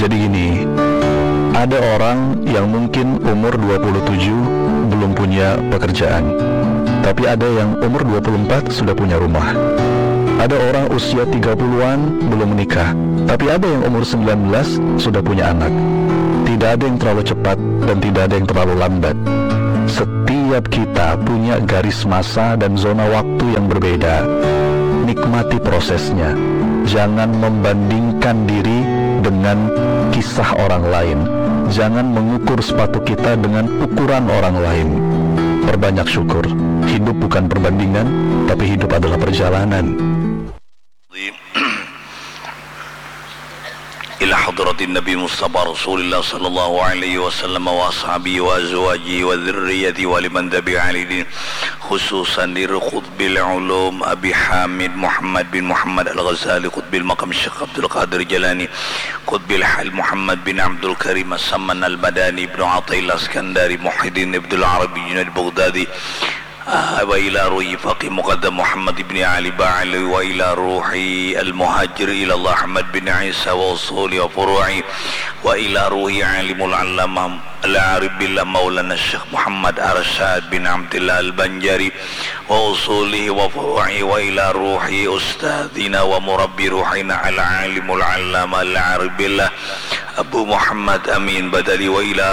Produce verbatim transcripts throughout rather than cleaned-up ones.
Jadi gini, ada orang yang mungkin umur dua puluh tujuh belum punya pekerjaan, tapi ada yang umur dua puluh empat sudah punya rumah. Ada orang usia tiga puluhan belum menikah, tapi ada yang umur sembilan belas sudah punya anak. Tidak ada yang terlalu cepat dan tidak ada yang terlalu lambat. Setiap kita punya garis masa dan zona waktu yang berbeda. Nikmati prosesnya. Jangan membandingkan diri dengan kisah orang lain. Jangan mengukur sepatu kita dengan ukuran orang lain. Perbanyak syukur. Hidup bukan perbandingan, tapi hidup adalah perjalanan. إلى حضرة النبي المصطفى رسول الله صلى الله عليه وسلم وأصحابه وأزواجه وذريته ولمن تبع على دينه، خصوصا لقطب العلوم أبي حامد محمد بن محمد الغزالي، قطب المقام الشيخ عبد القادر الجيلاني، قطب الحال محمد بن عبد الكريم السمن المدني، ابن عطاء الله السكندري، محي الدين ابن العربي، جنيد البغدادي، آه، وإلى روح فقيه مقدم محمد بن علي بعلوي، وإلى روح المهاجر إلى الله أحمد بن عيسى وأصوله وفروعه، وإلى روح عالم العلامة العارف بالله مولانا الشيخ محمد أرشاد بن عبد الله البنجاري وأصوله وفروعه، وإلى روح أستاذنا ومربي روحنا العالم العلامة العارف بالله أبو محمد أمين بدوي، وإلى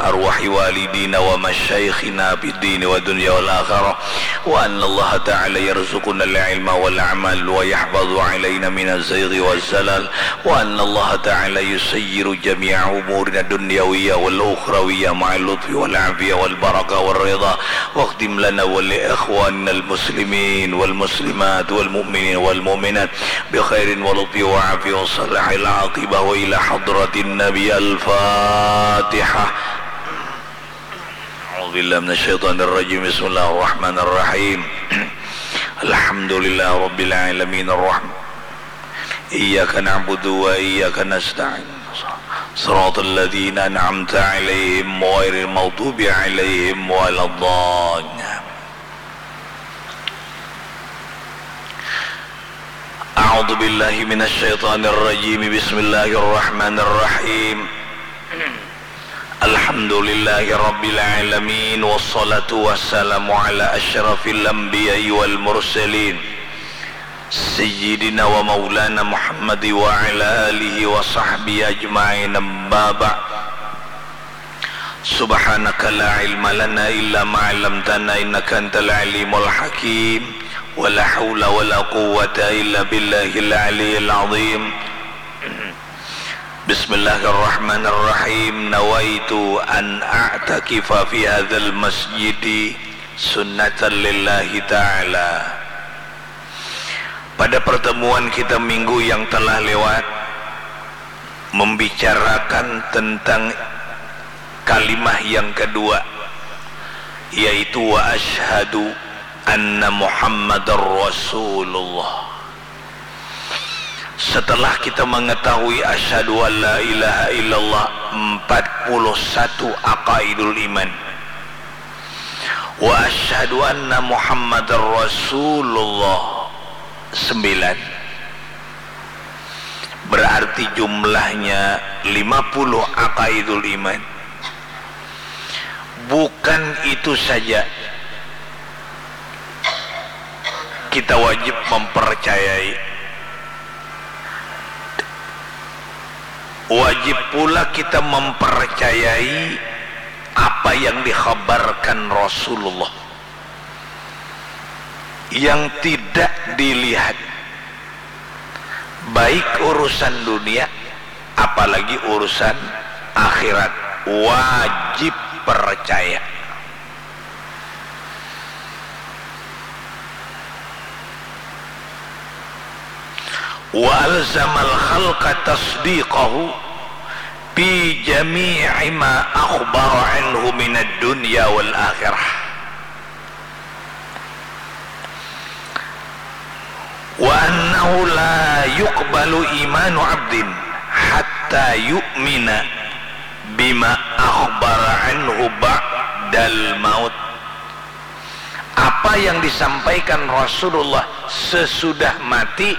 أرواح والدينا ومشايخنا في الدين والدنيا والآخرة، وأن الله تعالى يرزقنا العلم والعمل ويحفظ علينا من الزيغ والزلل، وأن الله تعالى يسير جميع أمورنا الدنيوية والأخروية مع اللطف والعافية والبركة والرضا، واختم لنا ولإخواننا المسلمين والمسلمات والمؤمنين والمؤمنات بخير ولطف وعافية وصلاح العاقبة وإلى حضرة النبي. الفاتحة. أعوذ بالله من الشيطان الرجيم. بسم الله الرحمن الرحيم. الحمد لله رب العالمين. الرحمن. إياك نعبد وإياك نستعين. صراط الذين أنعمت عليهم غير المغضوب عليهم ولا الضالين. أعوذ بالله من الشيطان الرجيم. بسم الله الرحمن الرحيم. الحمد لله رب العالمين، والصلاة والسلام على أشرف الأنبياء والمرسلين، سيدنا ومولانا محمد وعلى آله وصحبه أجمعين. أما بعد. سبحانك لا علم لنا إلا ما علمتنا إنك أنت العليم الحكيم. ولا حول ولا قوة إلا بالله العلي العظيم. بسم الله الرحمن الرحيم. نويت أن أعتكف في هذا المسجد سنة لله تعالى. Pada pertemuan kita minggu yang telah lewat, membicarakan tentang kalimah yang kedua, yaitu wa asyhadu anna Muhammadar Rasulullah. Setelah kita mengetahui asyhadu an la ilaha illallah empat puluh satu aqaidul iman, wa asyhadu anna Muhammadar Rasulullah sembilan, berarti jumlahnya lima puluh aqaidul iman. Bukan itu saja, kita wajib mempercayai, wajib pula kita mempercayai apa yang dikhabarkan Rasulullah yang tidak dilihat, baik urusan dunia, apalagi urusan akhirat, wajib percaya. Wa alzamal khalqa tasdiqahu fi jami'i ma akhbara anhu minad dunya wal akhirah. Wa annahu la yuqbalu imanu abdin hatta yu'mina bima akhbara anhu ba'dal maut. Apa yang disampaikan Rasulullah sesudah mati,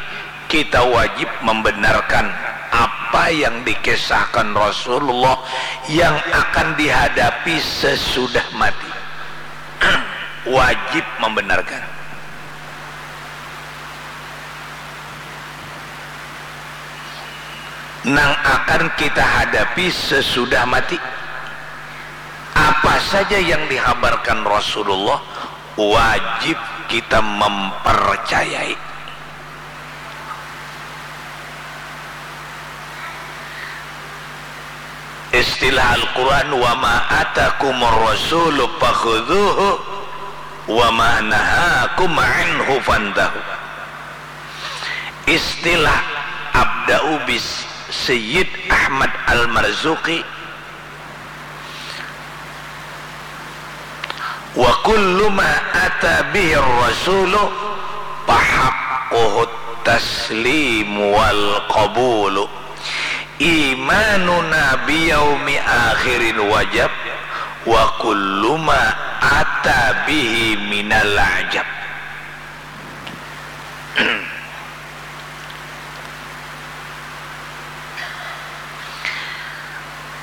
kita wajib membenarkan apa yang dikisahkan Rasulullah yang akan dihadapi sesudah mati. Wajib membenarkan. Nang akan kita hadapi sesudah mati. Apa saja yang dihabarkan Rasulullah wajib kita mempercayai. Istilah Al-Quran, "Wa ma atakumur rasulu fakhudhuhu, wa ma nahakum anhu fantahu." Istilah Abda'u bis Sayyid Ahmad Al-Marzuki, "Wa kullu ma ata bihi rasulu fahaqquhu taslim wal qabulu. Imanuna biyaumi akhirin wajab, wa kullu ma ata bihi minal ajab."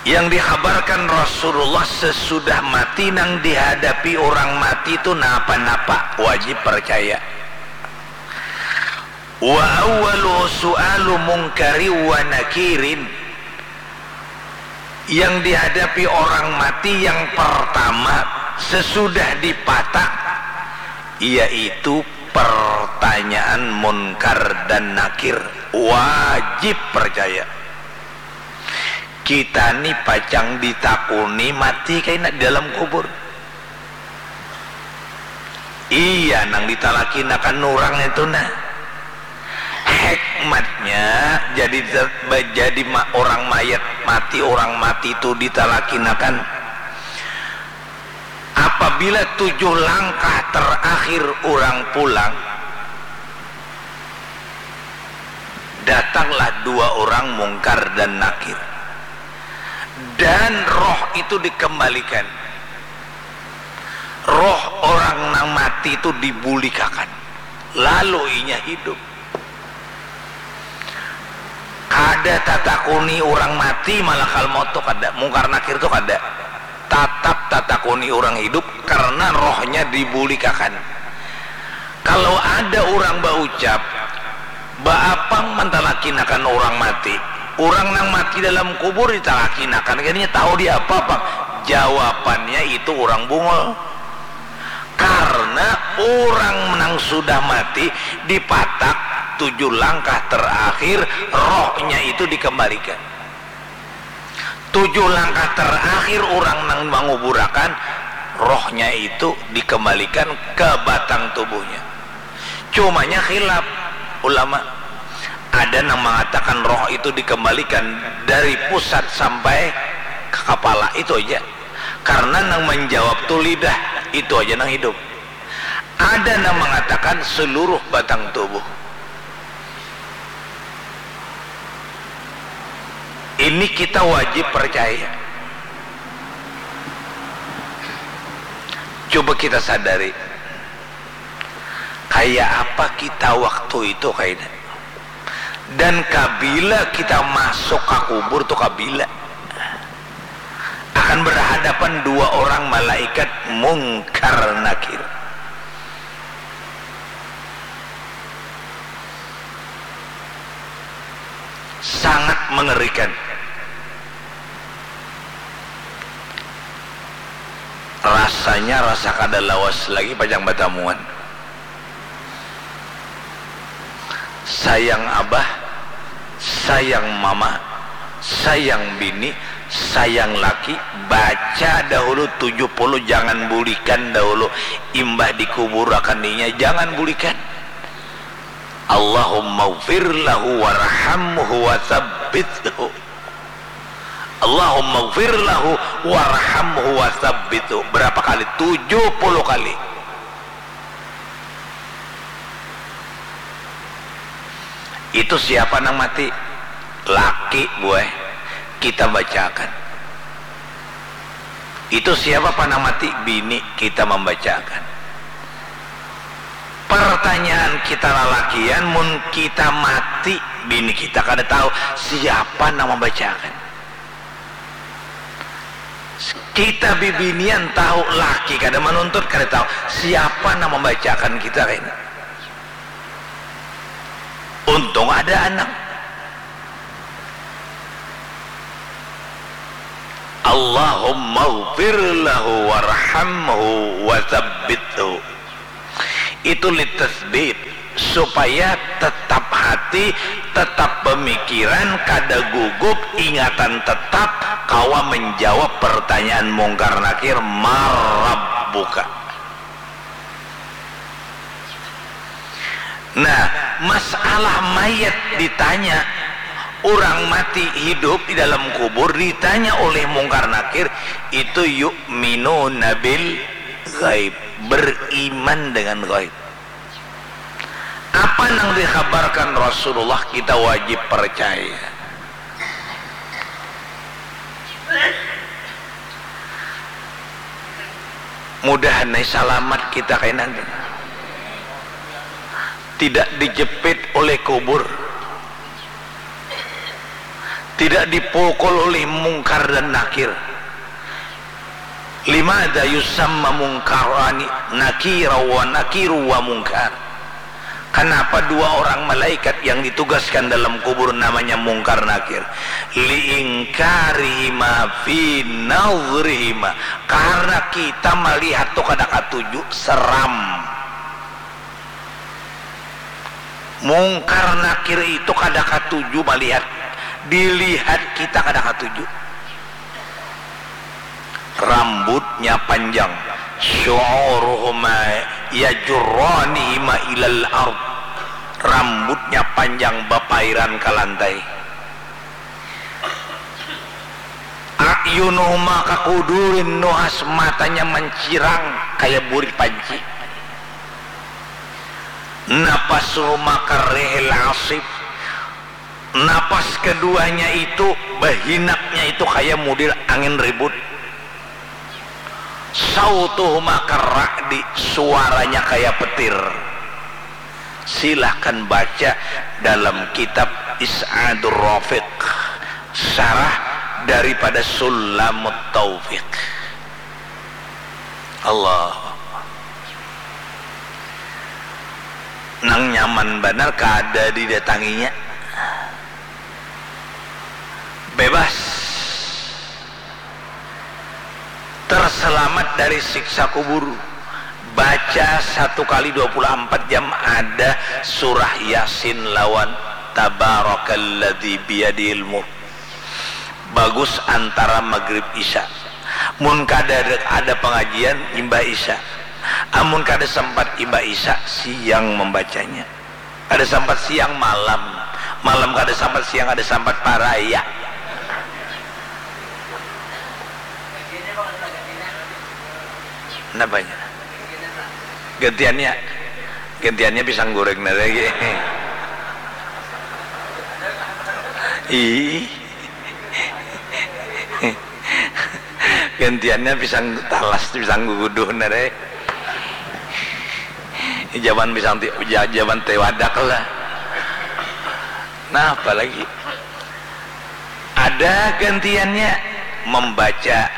Yang dikhabarkan Rasulullah sesudah mati, nang dihadapi urang mati tu napa-napa, wajib parcaya. Wa awwalu su'alu mungkari wa nakirin, yang dihadapi orang mati yang pertama sesudah dipatak, yaitu pertanyaan Munkar dan Nakir. Wajib percaya. Kita ni pacang ditakuni mati kaina di dalam kubur. Iya, nang ditalakinakan urang itu nah. Hikmatnya jadi, jadi ma-, orang mayat mati, orang mati itu ditalakinakan. Apabila tujuh langkah terakhir urang pulang, datanglah dua orang Mungkar dan Nakir. Dan roh itu dikembalikan. Roh orang nang mati itu dibulikakan. Lalu inya hidup. Kada tatakuni urang mati, malakal maut tu kada, Mungkar Nakir tu kada. Tatap tatakuni urang hidup karna rohnya dibulikakan. Kalau ada urang baucap, "Baapang mantalakinakan urang mati?" Urang nang mati dalam kubur ditalakinakan, kayanya tahu diapa pang. Jawabannya itu urang bungul. Karna urang nang sudah mati dipatak tujuh langkah terakhir, rohnya itu dikembalikan. Tujuh langkah terakhir urang nang manguburakan, rohnya itu dikembalikan ke batang tubuhnya. Cumanya khilaf ulama. Ada nang mangatakan roh itu dikembalikan dari pusat sampai ke kapala, itu aja. Karna nang manjawab tu lidah, itu aja nang hidup. Ada nang mangatakan seluruh batang tubuh. Ini kita wajib percaya. Coba kita sadari, kaya apa kita waktu itu kaina? Dan kabila kita masuk ka kubur tu, kabila? Akan berhadapan dua orang malaikat Mungkar Nakir. Sangat mengerikan. Rasanya rasa kada lawas lagi pacang batamuan. Sayang abah, sayang mama, sayang bini, sayang laki, baca dahulu tujuh puluh, jangan bulikan dahulu. Imbah dikuburakan inya, jangan bulikan. Allahumma gfir lahu warhamhu wa tsabbithu. Allahumma gfir lahu warhamhu wa tsabbithu. Berapa kali? Tujuh puluh kali. Itu siapa nang mati? Laki, buai. Kita bacakan. Itu siapa pang nang mati? Bini. Kita membacakan. Pertanyaan kita lalakian, mun kita mati, Bini kita kada tahu siapa nang mambacakan. Kita bibinian tahu, laki kada manuntut, kada tahu siapa nang mambacakan kita kaini. Untung ada anak. Allahumma ghfir lahu warhamhu wa tsabbithu. Itu litasbit, supaya tetap hati, tetap pemikiran, kada gugup, ingatan tetap kawa menjawab pertanyaan Mungkar Nakir, "Marabbuka?" Nah, masalah mayat ditanya, orang mati hidup di dalam kubur ditanya oleh Mungkar Nakir, itu yu'minuna bil ghaib, beriman dengan ghaib. Apa nang dikhabarkan Rasulullah kita wajib percaya. Mudahan ai salamat kita kainan. Tidak dijepit oleh kubur. Tidak dipukul oleh Mungkar dan Nakir. Limada yusamma Mungkarani Nakira wa Nakiru wa Mungkar? Kenapa dua orang malaikat yang ditugaskan dalam kubur namanya Mungkar Nakir? Liingkarihima fi nazrihima. Karena kita melihat tu kada katuju, seram. Mungkar Nakir itu kada katuju malihat, dilihat kita kada katuju. Rambutnya panjang, syu'uruhuma yajurranihima ilal ard. Rambutnya panjang bapairan ka lantai. A'yunuhuma kakudurin nuhas, matanya mancirang kaya burit panci. Napasuhuma karrihil asif, napas keduanya itu, bahinaknya itu kaya mudil angin ribut. Sautuhuma karra'di, suaranya kaya petir. Silahkan baca dalam kitab Is'adur Rafiq, syarah daripada Sulamut Taufiq. Allah. Nang nyaman banar kada didatanginya. Bebas. Terselamat dari siksa kubur. Baca satu kali dua puluh empat jam ada surah Yasin lawan Tabarakalladzi biyadihil mulk. Bagus antara magrib isya. Mun kada ada, ada pengajian, imbah isya. Amun kada sempat imbah isya, siang membacanya. Kada sampat siang, malam. Malam kada sampat siang, kada sampat paraya. Napanya? Gantiannya, gantiannya pisang goreng nah lagi. Ih. Gantiannya pisang talas, pisang guguduh nah deh. Jaman pisang ti-, ja-, jaman teh wadak lah. Nah, apalagi ada gantiannya membaca,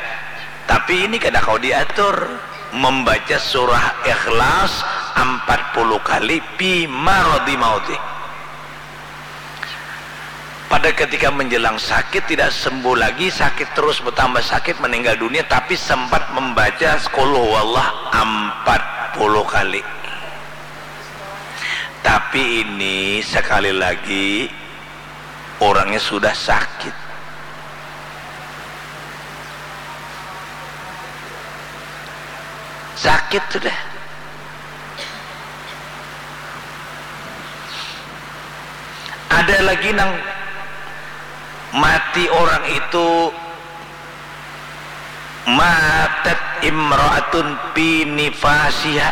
tapi ini kada kau diatur, membaca surah Ikhlas empat puluh kali fi maradi mauti. Pada ketika menjelang sakit, tidak sembuh lagi, sakit terus bertambah sakit, meninggal dunia, tapi sempat membaca Qul Huwallah empat puluh kali. Tapi ini sekali lagi, orangnya sudah sakit. Sakit sudah. Ada lagi nang mati orang itu, matat imra'atun fi nifasiha,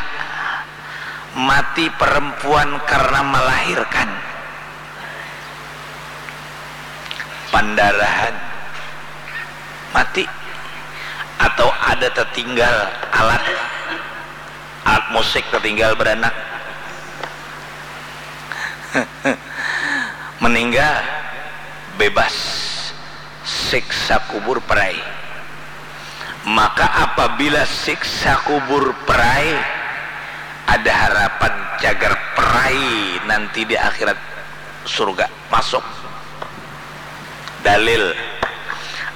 mati perempuan karena melahirkan, pandarahan, mati, atau ada tertinggal alat, alat musik tertinggal beranak. meninggal bebas siksa kubur perai. Maka apabila siksa kubur perai, ada harapan cagar perai nanti di akhirat surga masuk. Dalil,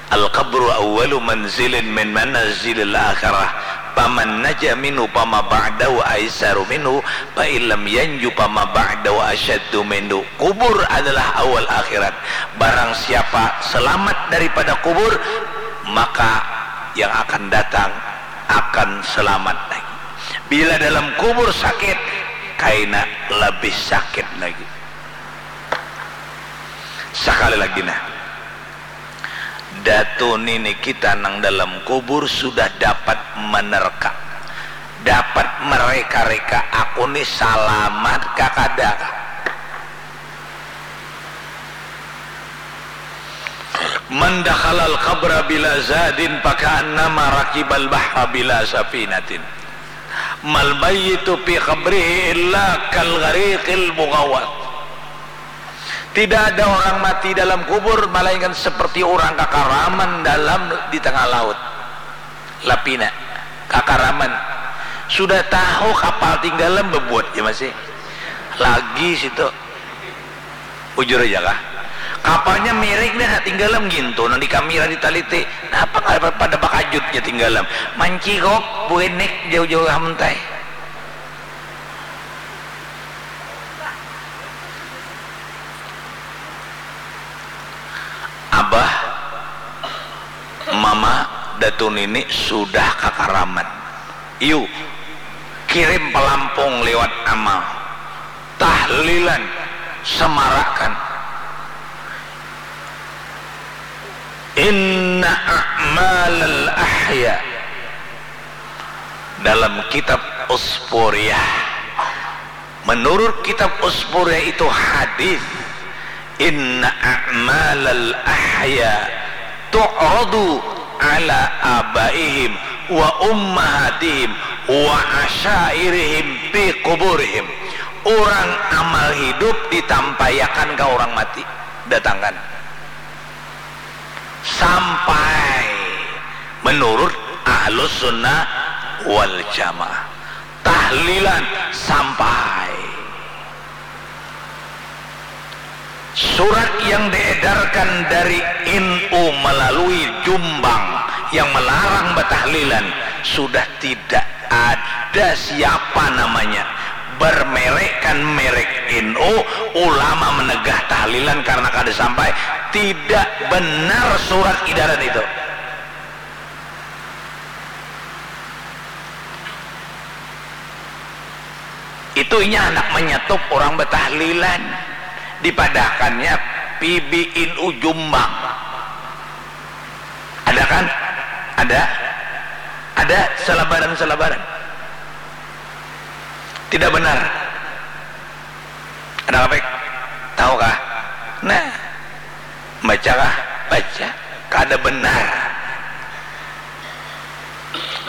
al-qabru awwalu manzilin min manazilil akhirah, faman naja minhu fama ba'dahu aisaru minhu, fa illam yanju fama ba'dahu asyaddu minhu. Kubur adalah awal akhirat. Barang siapa selamat daripada kubur, maka yang akan datang akan selamat lagi. Bila dalam kubur sakit, kaina lebih sakit lagi. Sekali lagi nah, datu nini kita nang dalam kubur sudah dapat menerka, dapat mereka-reka, aku ni salamat kah kada kah. Man dakhalal qabra bila zadin faka'annama rakibal bahra bila safinatin. Mal mayyitu fi qabrihi illa kal ghariqil mughawwath. Tidak ada orang mati dalam kubur melainkan seperti orang kakaraman dalam di tengah laut. Lapina, kakaraman. Sudah tahu kapal tinggalam bebuat ja masih. Lagi situ. Bujur aja kah? Kapalnya miring dah, tinggalam gintu nang di kamera ditaliti. Napa kada pada bakajut ja tinggalam? Mancigok, buenek jauh-jauh hamuntai. Abah, mama, datu nini sudah kakaraman. Iyu, kirim pelampung liwat amal. Tahlilan, semarakan. Inna a'malal ahya. Dalam kitab Usfuriyah, menurut kitab Usfuriyah itu hadis, inna a'malal ahya tu'radu ala abaihim wa ummahatihim wa asyairihim fi kuburihim. Orang amal hidup ditampaiakan ke orang mati, datangkan. Sampai menurut ahlus sunnah wal jamaah, tahlilan sampai. Surat yang diedarkan dari N U melalui Jumbang yang melarang betahlilan sudah tidak ada siapa namanya bermerekkan merek N U, ulama menegah tahlilan karena kada sampai. Tidak benar surat edaran itu. Itu inya handak menyetop orang betahlilan, dipadahakannya P B N U Jumbang. Ada kan? Ada? Ada selebaran-selebaran. Tidak benar. Ada apa? Tahu kah? Nah, baca kah? Baca. Kada benar.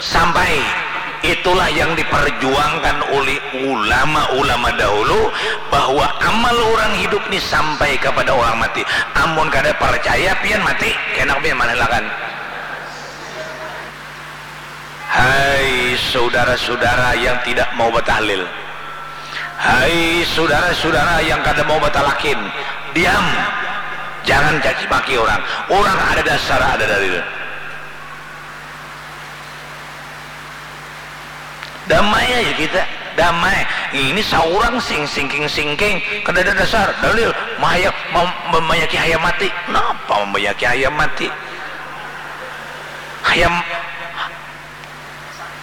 Sampai itulah yang diperjuangkan oleh ulama-ulama dahulu, bahwa amal orang hidup ni sampai kepada orang mati. Amun kada percaya, pian mati, kena pian manalakan. Hai saudara-saudara yang tidak mau batahlil, hai saudara-saudara yang kada mau batalakin, diam, jangan caci maki orang. Orang ada dasar, ada dalil. Damai aja kita, damai. Ini saurang sing singking-singking, kada ada dasar, dalil, mahaya, mem- membayaki hayam mati. Napa membayaki hayam mati? Hayam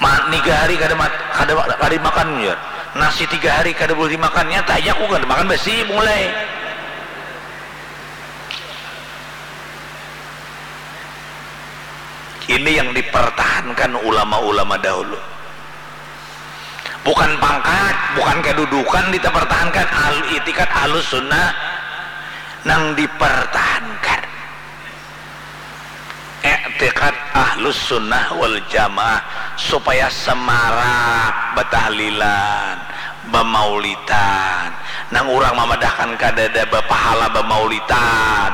ma- tiga hari kada mat- kada kada dimakan, ya. Nasi tiga hari kada boleh dimakan, nyata aja aku kada makan basi mulai. Ini yang dipertahankan ulama-ulama dahulu. Bukan pangkat, bukan kedudukan dipertahankan, al- itikad ahlus sunnah nang dipertahankan. Itikad ahlus sunnah wal jamaah supaya semarak batahlilan, bamaulidan, Nang urang mamadahkan kadada bapahala bamaulitan.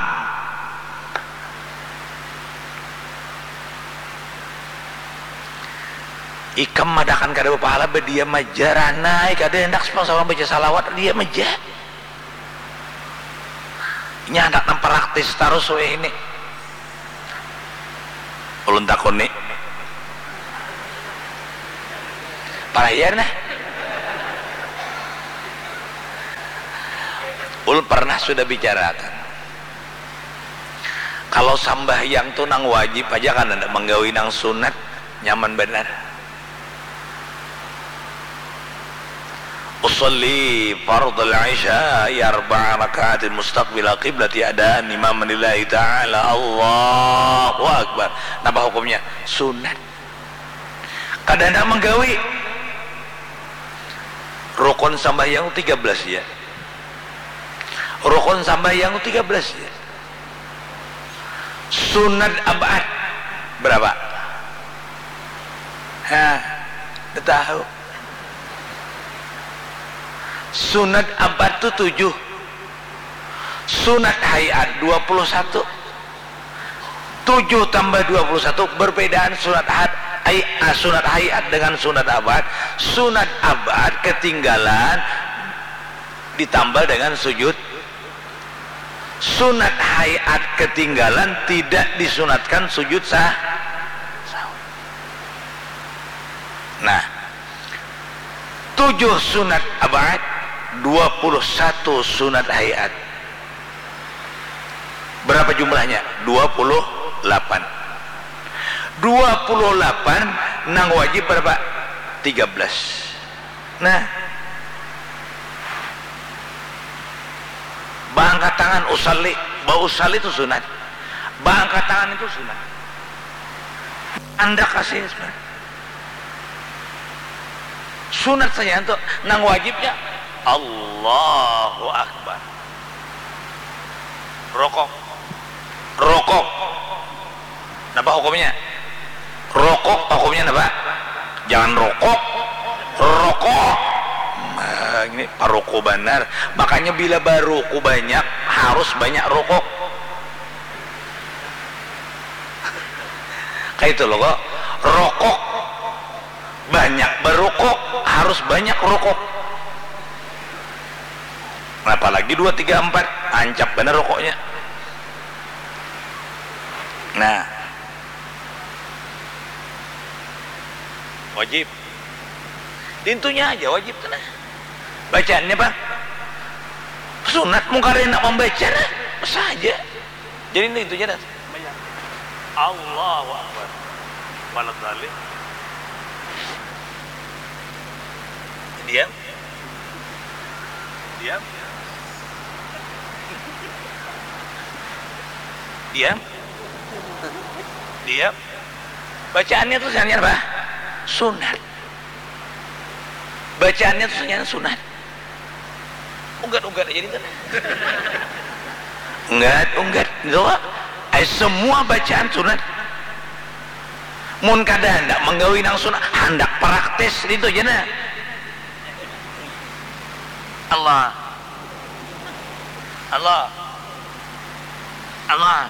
Ikam madahkan kada bapahala, badiam aja ranai, kada handak pang saurang baca salawat, diam aja. Inya handak nang praktis tarus wahini. Ulun takuni. Parahia nah. Ulun pernah sudah bicarakan. Kalau sambahyang tu nang wajib aja kan, handak manggawi nang sunat, nyaman banar. Usalli fardal isya arba'a rakaatin mustaqbilal qiblati adaan imaman lillahi ta'ala. Allahu Akbar. Napa hukumnya? Sunat. Kada handak manggawi. Rukun sambahyang tiga belas ya. Rukun sambahyang tiga belas ya. Sunat ab'ad berapa? Hah, dah tahu. Sunat ab'ad tu tujuh. Sunat hay'at dua puluh satu. Tujuh tambah dua puluh satu, perbedaan sunat had-, ay-, ah, sunat hay'at dengan sunat ab'ad. Sunat ab'ad ketinggalan ditambal dengan sujud. Sunat hay'at ketinggalan, tidak disunatkan sujud sah-, sahwi. Nah, tujuh sunat ab'ad, dua puluh satu sunat hay'at. Berapa jumlahnya? Dua puluh delapan. Dua puluh delapan, nang wajib berapa? Tiga belas. Nah. Baangkat tangan, usalli. Bausalli itu sunat. Baangkat tangan itu sunat. Andak kasih sunat. Sunat saja tu, nang wajibnya Allahu Akbar. Rokok. Rokok. Napa hukumnya? Rokok hukumnya napa? Jangan rokok. Rokok. Nah, ini paroko banar. Makanya bila baruku banyak, harus banyak rokok. Kayak itu loh kok. Rokok. Banyak barokok, harus banyak rokok. Apalagi dua, tiga, empat, ancap banar rokoknya. Nah. Wajib. Dintunya aja wajib tu nah. Bacaannya apa? Sunat, mun kada handak mambaca nah. Saja. Jadi dintunya nah. Allahu Akbar. Balat balik. Diam. Diam. Diam. Diam. Bacaannya tu saja apa? Sunat. Bacaannya tu saja sunat. Unggat-unggat aja itu. Unggat, unggat. Itu, ai, semua bacaan sunat. Mun kada handak manggawi nang sunat, handak praktis itu aja nah. Allah. Allah. Allah.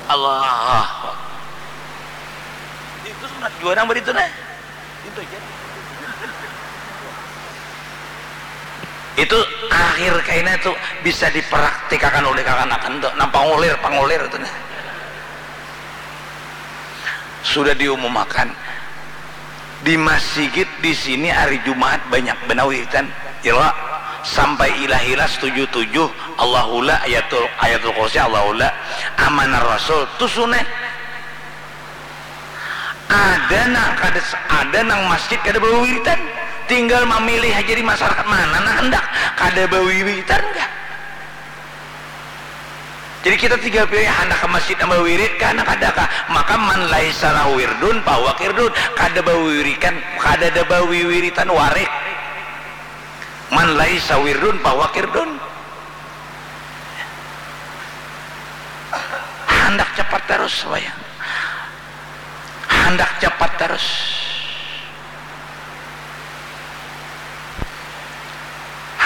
Allah. Itu sunat jua nang baritu nah. Itu aja. Itu akhir kaina tu bisa dipraktikakan oleh kakanakan tu. Nah, pangulir, pangulir tu nah. Sudah diumumakan di masigit di sini hari Jumaat banyak banar wiritan. Ila sampai ilah-ilah setuju tujuh, Allahula, ayatul, ayatul kursi, Allahula, amanah rasul, tu sunah. Ada nang kada, ada nang masjid kada bawiritan, tinggal mamilih haja di masyarakat mana nang handak kada bawiritan kah. Jadi kita tinggal pilih handak ka masjid nang bawirit kah nang kada kah. Maka man laisa lahu wirdun fahuwa kirdun, kada bawirikan, kada ada bawiwiritan warik. Man laisa wirdun fahuwa kirdun. Handak capat tarus wayang. Handak capat tarus.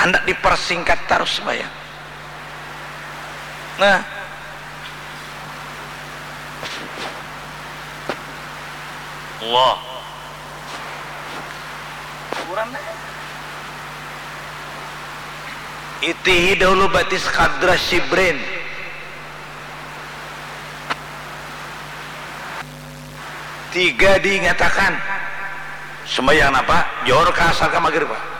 Hendak dipersingkat tarus sembahyang. Nah. Allah. Itihi dahulu batis kadra shibrin. Tiga diingatakan. Sembahyang napa? Johor ka asar ka magrib, Pak.